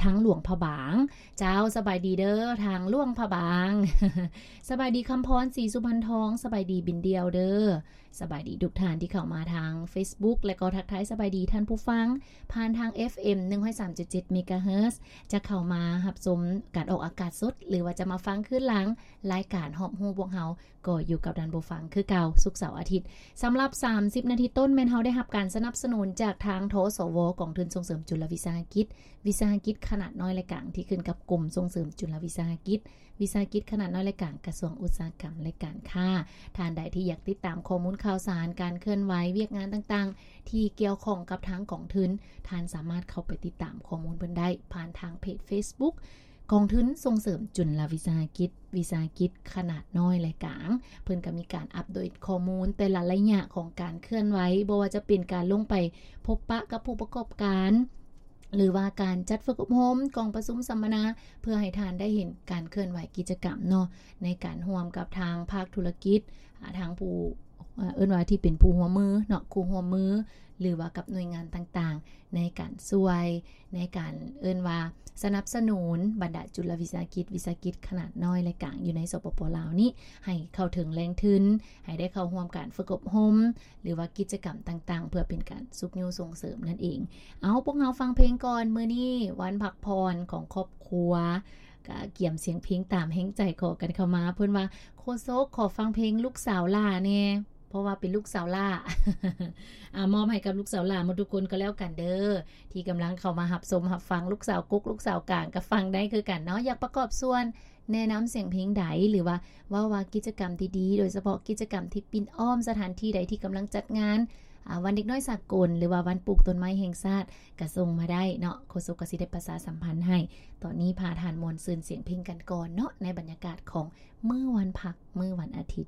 ທາງຫຼວງພະບາງ. ເຈົ້າ ສະບາຍດີເດີ ທາງຫຼວງພະບາງ. ສະບາຍດີຄຳພອນ ສີສຸພັນທອງ. ສະບາຍດີບິນດ່ຽວເດີ. ສະບາຍດີທຸກທ່ານທີ່ເຂົ້າມາທາງ Facebook ແລະກໍທັກທາຍສະບາຍດີທ່ານຜູ້ຟັງຜ່ານທາງ ເອັຟເອັມ ໜຶ່ງຮ້ອຍສາມຈຸດເຈັດ ເມກາເຮີດ ຈະເຂົ້າມາຮັບຊົມການອອກອາກາດສົດ ຫຼືວ່າຈະມາຟັງຄືນຫຼັງລາຍການຮອບຮູ້ພວກເຮົາ ກໍຢູ່ກັບທ່ານຜູ້ຟັງຄືເກົ່າ ສຸກເສົາອາທິດ. ສຳລັບສາມສິບນາທີຕົ້ນ ແມ່ນເຮົາໄດ້ຮັບການສະໜັບສະໜູນຈາກທາງ ທສວ ກອງທຶນສົ່ງເສີມຈຸລະວິສາຫະກິດ ວິສາຫະກິດຂະໜາດນ້ອຍ ແລະ ກາງ ທີ່ຂຶ້ນກັບກົມສົ່ງເສີມຈຸລະວິສາຫະກິດ ວິສາຫະກິດຂະໜາດນ້ອຍ ແລະ ກາງ ກະຊວງອຸດສາຫະກຳ ແລະ ການຄ້າ. ທ່ານໃດທີ່ຢາກຕິດຕາມຂໍ້ມູນຂ່າວສານ ການເຄື່ອນໄຫວ ວຽກງານຕ່າງໆ ທີ່ກ່ຽວຂ້ອງກັບທາງກອງທຶນ, ທ່ານສາມາດເຂົ້າໄປຕິດຕາມຂໍ້ມູນເພິ່ນໄດ້ຜ່ານທາງເພຈ Facebook ກອງທຶນສົ່ງເສີມຈຸລະວິສາຫະກິດ ວິສາຫະກິດຂະໜາດນ້ອຍ ແລະ ກາງ. ເພິ່ນກໍມີການອັບເດດຂໍ້ມູນແຕ່ລະໄລຍະຂອງການເຄື່ອນໄຫວ, ບໍ່ວ່າຈະເປັນການລົງໄປພົບປະກັບຜູ້ປະກອບການ ຫຼືວ່າການຈັດຝຶກອົບຮົມ, ກອງປະຊຸມສຳມະນາ ເພື່ອໃຫ້ທ່ານໄດ້ເຫັນການເຄື່ອນໄຫວກິດຈະກຳເນາະ ໃນການຮ່ວມກັບທາງພາກທຸລະກິດ, ອາ, ທາງຜູ້, ເອີ້ນວ່າທີ່ເປັນຜູ້ຮ່ວມມືເນາະ, ຄູ່ຮ່ວມມື ຫຼືວ່າກັບໜ່ວຍງານຕ່າງໆ ໃນການຊ່ວຍ, ໃນການເອີ້ນວ່າສະໜັບສະໜູນບັນດາຈຸລະວິສາຫະກິດ, ວິສາຫະກິດຂະໜາດນ້ອຍ ແລະ ກາງ ຢູ່ໃນ ສປປ ລາວນີ້ ໃຫ້ເຂົ້າເຖິງແຫຼ່ງທຶນ, ໃຫ້ໄດ້ເຂົ້າຮ່ວມການຝຶກອົບຮົມ ຫຼືວ່າກິດຈະກຳຕ່າງໆ ເພື່ອເປັນການຊຸກຍູ້ສົ່ງເສີມນັ້ນເອງ. ເອົາ, ພວກເຮົາຟັງເພງກ່ອນ. ມື້ນີ້ວັນພັກຜ່ອນຂອງຄອບຄົວ, ກະກຽມສຽງເພງຕາມແຮງໃຈຂໍກັນເຂົ້າມາ. ເພິ່ນວ່າ, ໂຄສົກ, ຂໍຟັງເພງລູກສາວຫຼ້າແດ່, ເພາະວ່າເປັນລູກສາວຫຼ້າ. ອາ, ມອບໃຫ້ກັບລູກສາວຫຼ້າໝົດທຸກຄົນກໍແລ້ວກັນເດີ, ທີ່ກຳລັງເຂົ້າມາຮັບຊົມຮັບຟັງ. ລູກສາວກົກ, ລູກສາວກາງ ກໍຟັງໄດ້ຄືກັນເນາະ. ຢາກປະກອບສ່ວນ ແນະນຳສຽງເພງໃດ ຫຼືວ່າເວົ້າວ່າກິດຈະກຳດີໆ ໂດຍສະເພາະກິດຈະກຳທີ່ປິ່ນອ້ອມສະຖານທີ່ໃດທີ່ກຳລັງຈັດງານ, ອາ, ວັນເດັກນ້ອຍສາກົນ ຫຼືວ່າວັນປູກຕົ້ນໄມ້ແຫ່ງຊາດ ກະສົ່ງມາໄດ້ເນາະ. ໂຄສົກກະຊິໄດ້ປະຊາສຳພັນໃຫ້. ຕອນນີ້ພາທ່ານມ່ວນຊື່ນສຽງເພງກັນກ່ອນເນາະ ໃນບັນຍາກາດຂອງມື້ວັນພັກ, ມື້ວັນອາທິດ.